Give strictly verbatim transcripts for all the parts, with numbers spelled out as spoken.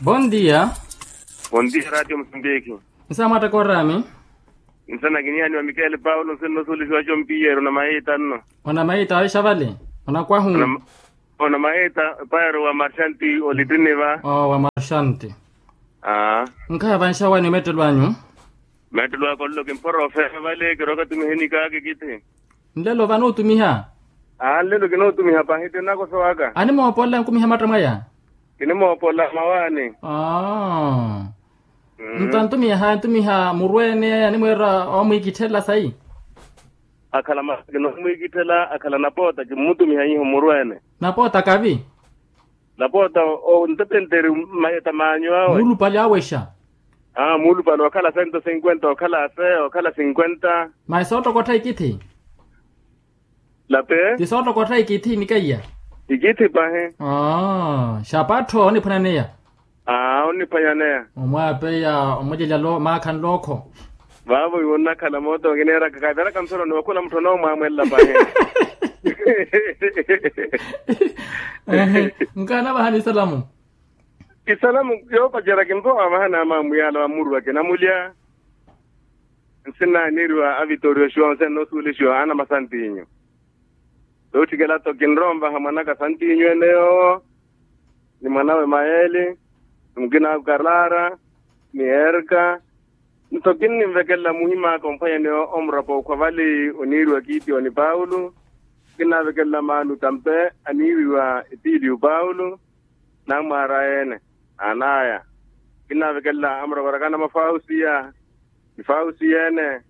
Bondia. Bondia ratio musambiki. Nsamwatta korami. Nsana kiniani wa mikele paulo nsenno sulixiwa compiyeru na maita nno. Ona maita oixavali. Ona kwahu. Ona maita. Paero wa marxanti olittiniva. Wa marxanti. Nkhaha vanxawani omettelo anyu. Mettelo ako nlo kimphora ofeha vale kiroka tumihenikaki kithi. Nlelo vano otumiha. Aa nlelo kino otumiha pahi tinakosowaka. Animoopolela nkumiha matta mwaya. Kinimoopolela mawaani. Aa. Nto antumiha antumiha murweene animweera omwikitthela sayi. Akhala masi kinomwikitthela akhala napoota kimmutumiha iho murweene. Napoota kavi. Napoota. Ontepenteri mayeta maanyu awe. Muulupale awexa. Aa muulupale okhala sento sinkwenta okhala se okhala sinkwenta. Masi soottokotha ikithi. Lape. Ti soottokotha ikithi nikaiya. Ikithi pahi. Xapattho oniphwananeya. Aa oniphwanyaneya. Omwaapeya omulyelya maakha nlookho. Vaavo iwo nnakhala moota okineeraka kaviraka nthoroni wakhula mutthu onoomwaamwelela pahi. Nkaana vahani isalamu. Isalamu yoopacerya kimpowa vahani amaamuyala wa muru akinamulya. Nsinna aniiriwa avitoriyo xiwa onse nnoosuwelixiwa ana masantinyu. Tootthikela-tho kinrowa onvaha mwanaka santinyu ene yoowo ni mwanawe mayeli ni mukina aku karara ni erka. Nto kinninvekelela muhim'aka omphwanyani omurapa okhwa vali oniiriwa kiitiyoni paulo. Kinnavekelela maanu tampe aniiriwa etiiliyu paulo. Namwaara ene anaya. Kinnavekelela amuraparakana mwa fausiya ni fausiyene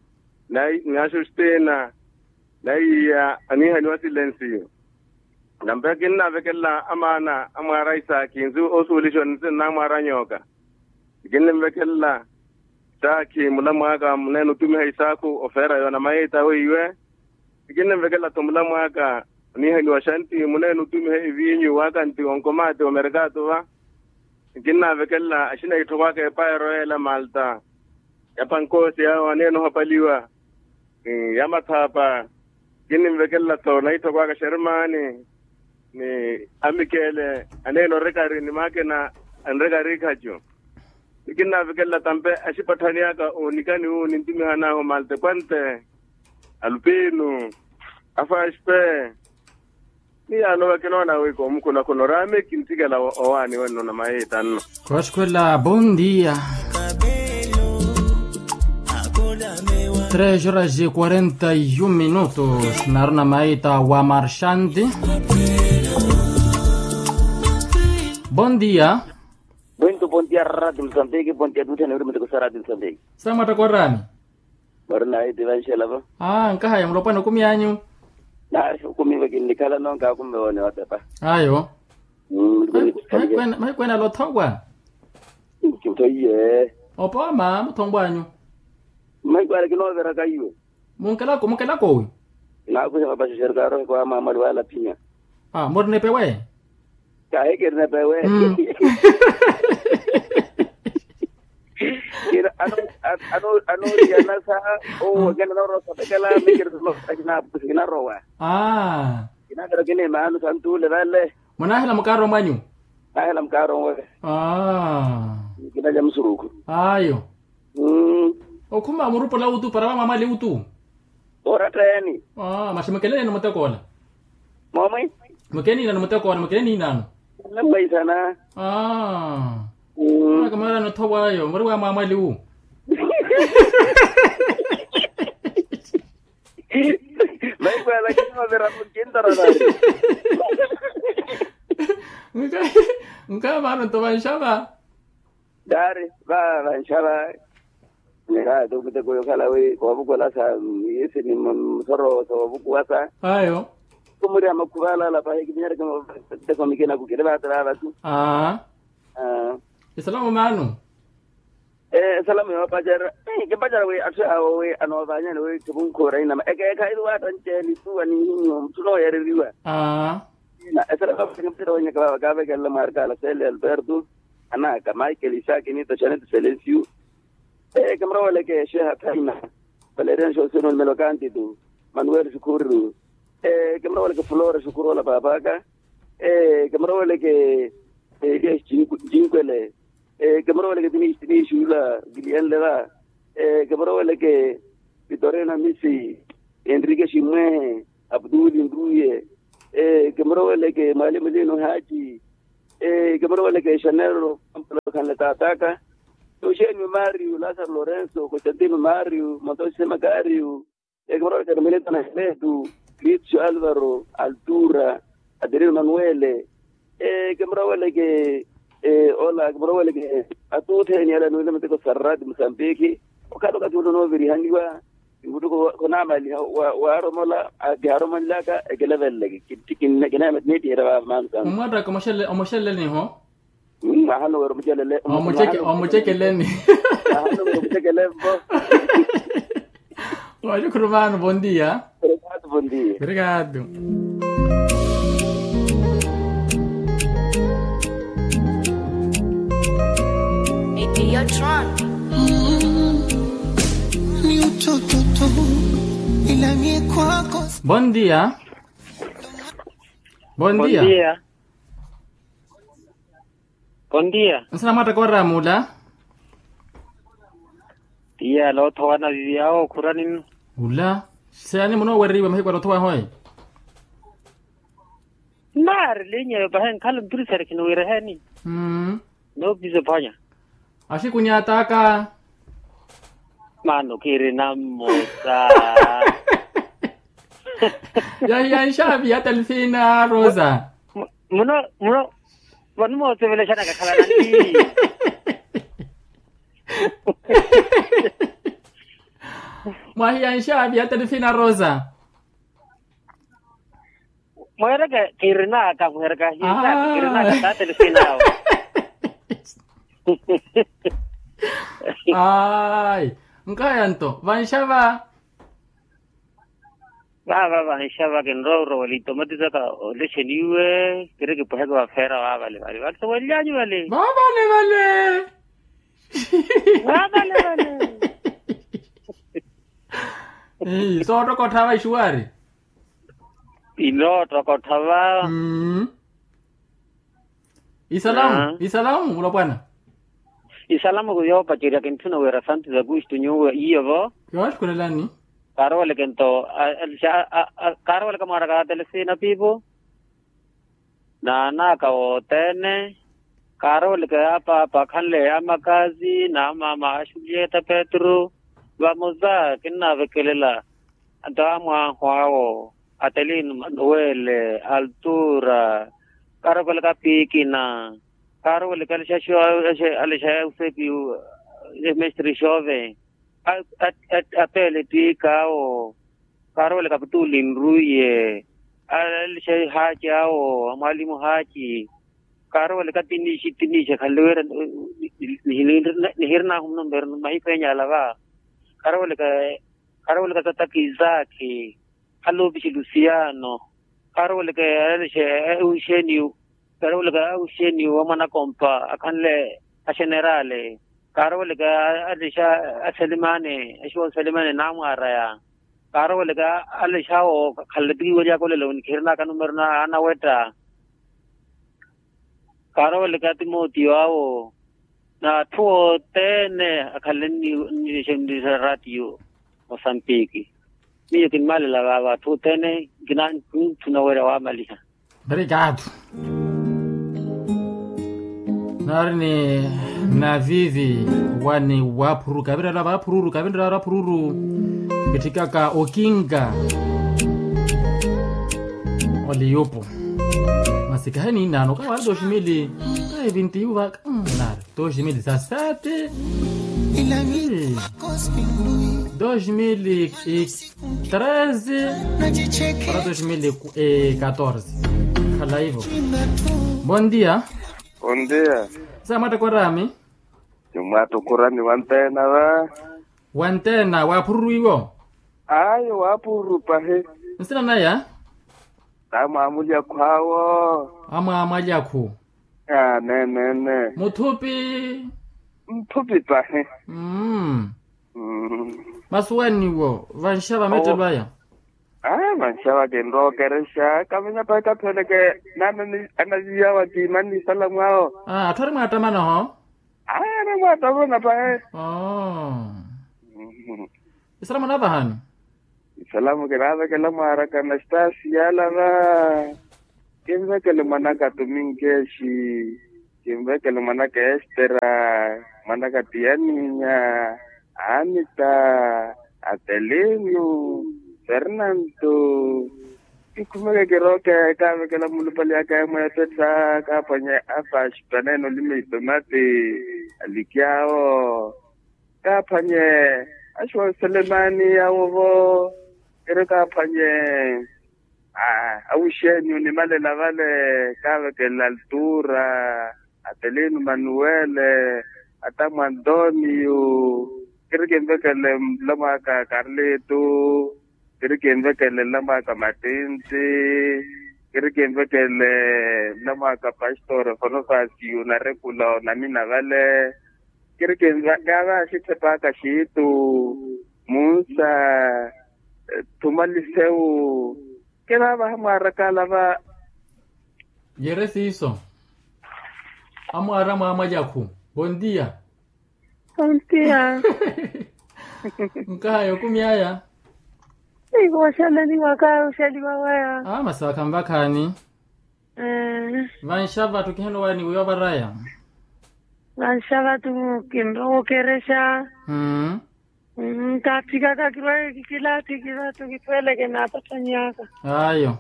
ni axustina. Naiya aniihaniwa silensiyo. Nampe kinnavekelela amaana amwaara isaaki nsu osuwelixiwa ni namwaara nyooka. Kinninvekelela isaaki mulamwaaka muneene otumiha isaakhu ofeera yoona mayita weiwe. Kinninvekelela-tho mulamwaaka oniihaniwa xanti muneene otumiha eviinyu wakanti onkomaati omerkaatu va. Kinnavekelela axina itthokwaka epaero yeela malta ya pankoosi yawe aneene ohapaliwa ni ya mathaapa. Kinninvekelela-tho naithokwaka xermaani ni amikeele aneene orekari ni maakina anrekari ikhacu. Ni kinnavekelela tampe axipatthani aka oonikani wu nintumihan'ahu malta ekwante alupinu afashpe. Ni yaano vakinoona wi koomukhuna khuna oraame kintthikela owaani wenno na mayiita nno. Kooxukhwela bondia. Tres horas e quarenta e um minutos naruna mayiita wa marxanti. Bondia. Mwintu bondia rarati musambiki bondia tuuthene uri mutikusa rati musambiki. Samwatta kooraani. Mori nayi ti vanxela va. Aa nkahaya mulopwana okumi anyu. Nayi okumi va kinnikhala nonka akumi va wone wapepa. Ayo. Mahiku ena lothowa. Kithoiye. Opooma muthowa anyu. Mahiku ale kinooveraka iwe. Munkelako munkelako owi. Naakuxa mapaxexe eri kaarohe kwa maamwali wala phinya. Aa mori nepewe. Kaahikiri nepewe. Anooriyanasa owo akina anoorowa osapekela mikiri kinarowa. Kinavira kinimaanu santuule vale. Munaahela mukaarowa mwanyu. Naahela mukaarowa mwanyu. Kinalya musurukhu. Ayo. Okhuma murupola utu para wamwamwali utu. Oratta yaani. Masi mukele niina ni mutekoola. Moomwi. Mukele niina ni mutekoola mukele niinaano. Nammweisana. Aa. Maka mara nothowa ayo muri wamwamwali wu. Mahiku ala kinoovira mukintararani. Nka nka vano nto vanxava. Daari va vanxava. Nikaati omuteko yokhala wi koovukulasa. Yisi ni musoro soovukuwasa. Ayo. Kumuri amakhuva alaala pahi kiminyereke muteko mikinaku kiri vaati vaavatu. Aa. Esalamu maanu. Esalamu yoopacerya. Kimpacerya wi atthu awo wi anoovanyani wi kivunkhuura inama ekeekhayi ri waatta nceeni tuwa nihinyu mutthu nooyereriwa. Aa. Esalamu yoopacerya kimpacerya wenyaka vaava kaavekelela mwaarikaala sele alberto, anaka michael isaki nita xaneti selensiu. Kimuroweleke xeha thaina valerian xoseno nimelokantitu, manuel xukhuriru. Kimuroweleke flora xukhuroola paapaka. Kimuroweleke elias, jinkwele. Kimuroweleke tiniixuula kiliyenle va. Kimuroweleke vitorena misi, enrike ximwehe, aputuli nruye. Kimuroweleke mwalimu lino haaci. Kimuroweleke xanero, ampula okhanle taataka. Oxeniyo mario lasaro lorenso constantino mario montosi sema kario. Kimuroweleke armeleta na hemetu, cristo alvaro, altura, adelino manuele. Kimuroweleke ola kimuroweleke atuutheni ala nuwina miteko sarrati musambiki. Okhala okathi ula onovirihaniwa. Nkutuku khonamaliha waaromola. Kiharomonlaka ekeleveleleke. Kinamatineetihera vava mansanga. Omwattaka omuxeleleniho. Mwaha nuwera omucelele. Omucekeleni. Mwaha nuwera omucekelempo. Oxukhurumano bondia. Obrigado. Bondia. Bondia. Bondia. Nsinamwattaka oraamula. Tiya loothowana vivi awo khurani nnu. Ula. Siyani munoowereriwa mahiku aloothowa hoyi. Nnaari linya yo pahe nkhala mpiri sari khiniwireheni. Noopisa ophonya. Axikunyataka. Mano khirina mmosa. Yahiya nxavi ya telefina rosa. Muno muno. Vano moosevelexana kakhala nanti. Mwahiya nxavi ya telefina rosa. Mweereke kirinaka mweereke ahiya nxavi kirinaka taatele sinawo. Ayi. Nkaya nto vanxava. Vava vanxava kinrowa orowela itomati saka olexeniwe. Kiri kipweheke vafeera vavalevale vale sowelyanyu vale. Vavalevale. Vavalevale. Soottokottha va ixuwari. Inoottokottha va. Isalamu isalamu mulopwana. Isalamu yoopacerya kintthuna wira santu za kustu nyuwe iyo vo. Yooxukhulelani. Kaaroweleke nto. Kaaroweleka mwaaraka atele siina piipo. Naanaaka wothene. Kaaroweleke apaapa akhanle amakaazi na amaama a xulieta petru. Vamosa kinnaavekelela. Nto amwaahu awo atelino manuwele altura. Kaarokolaka piikina. Kaarokolaka alixaxuwa alixaya usepi. Mestre xove apeele ttiika awo. Kaarokolaka putuli nruye. Alixaxuwa ehaaci awo amwalimu haaci. Kaarokolaka tiniixi tiniixi akhanle wira. Nihirinahu muno mbereno mahiku enyala va. Kaarokolaka kaarokolaka tataki isaakhi. Alupishi lusiano. Kaarokolaka alexe auxeniyu. Kaarokolaka auxeniyu wa mwanakompa akhanle axenerale. Kaarokolaka alexa aselimane axuwa oselimane namwaraya. Kaarokolaka alexa awo akhanle ttikiwelya akolela onikhirinaaka numero na anawetta. Kaarokolaka timotiyo awo. N'atthu othene akhanle nni nni nni ratiyo. Mosampiki. Miyo kinmaalela vaava atthu othene. Nkinantthu nawerya waamaliha. Obrigado. Nari ni navivi wani waphururu kavirela vaphururu kavirela vaphururu. Kitthikaka okinga. Oliyupo. Masi kahe niinaano kawaari doximili. Kahe vintiyu vaka. Nari doximili sasati. Dois mil e treze para dois mil e catorze. Khala ivo. Bom dia. Bom dia. Samwattakwa orami. Nimwattukurani wantena va. Wantena waphururu iwo. Ayo waphururu pahi. Nsina naya. Amwamulya khwawo. Amwamwalya khu. Aa neenene. Muthupi. Muthupi pahi. Mmm. Masuwaniwo vanxava mettelo aya. Aa vanxava kinrookerexa kaminya pahi kathweleke. Nana anaviyawa kiimani isalamu awo. Aa atthu ari mwaattamanaho. Aya namwaatavona pahe. Oo. Isalamu anavahani. Isalamu kinaavekela mwaaraka anastasi yaalava. Kinvekele mwanaka tuminkeshi. Kinvekele mwanaka estera. Mwanaka tiyaninya. Anita. Atelino. Fernanto. Kikhumeke kirooke kaavekela mulupali aka emweepettha kaaphwanye. Afaxi paneene olima itomati. Alikyaawo. Kaaphwanye. Axuwa selemani awovo. Kiri kaaphwanye. Awixeeni onimalela vale. Kaavekela altura. Atelino manuwele. Atamu antonio. Kiri kinvekele mlamwaka karlito. Kiri kinvekele nlamwaka matinti. Kiri kinvekele nlamwaka pastore fonofasi unarekula onamina vale. Kiri kinvekele kavaxitthepaka xiitu. Munsa. Thumalisewu. Kinaavaha mwaaraka alava. Yere siiso. Amwaara mwaamwalyakhu. Bontia. Bontia. Nkahaya okumi aya. Iko oxaleliwa kaya oxaliwa waya. Masi vakhanvakhaani. Vanxa vattu kihenowaani wiiwa varaya. Vanxa vattu kinrowa okerexa. Kaatthikaka kirwaye kikilaathiki vattu kitweleke naapatthanyaka. Ayo.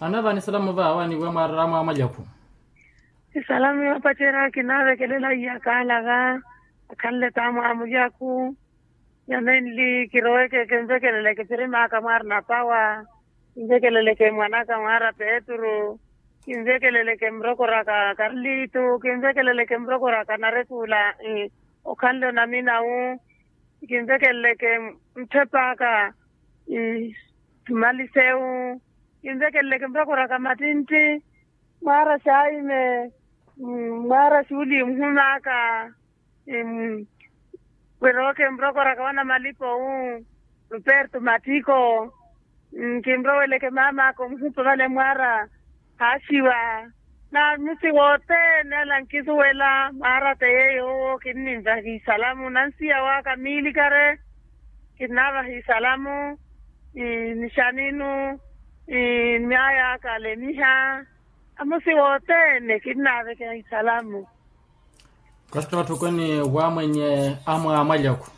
Anavani isalamu va awaani wiiwa mwaarara mwaamwalyakhu. Isalamu yoopacerya kinaavekelela iyakaala va. Akhanle taamwaamwalyakhu. Yamenli kiroweke kinvekeleleke pirimaka mwaari napawa. Kinvekeleleke mwanaka mwaara petru. Kinvekeleleke mrokoraka karlitu kinvekeleleke mrokoraka narekula. Okhanle onaminawu. Kinvekeleleke mtthepaka. Tumalisewu. Kinvekeleleke mrokoraka mattintti. Mwaara xaime. Mwaara xuuli mhumaka. Wirooke mrokoraka wanamalipowu. Ruperto mattiko. Kinroweleke mamaka omuhupa vale mwaara. Haaxiwa. Namusi wothene ala nkisuwela mwaara te yeeyo owo kinninvaha isalamu nansiya waka miilikare. Kinnaavaha isalamu. Nixaninu. Nyaayaka alemiha. Amusi wothene kinnaaveke isalamu. Kasta watthukweni wamwenye amwaamwalyakhu.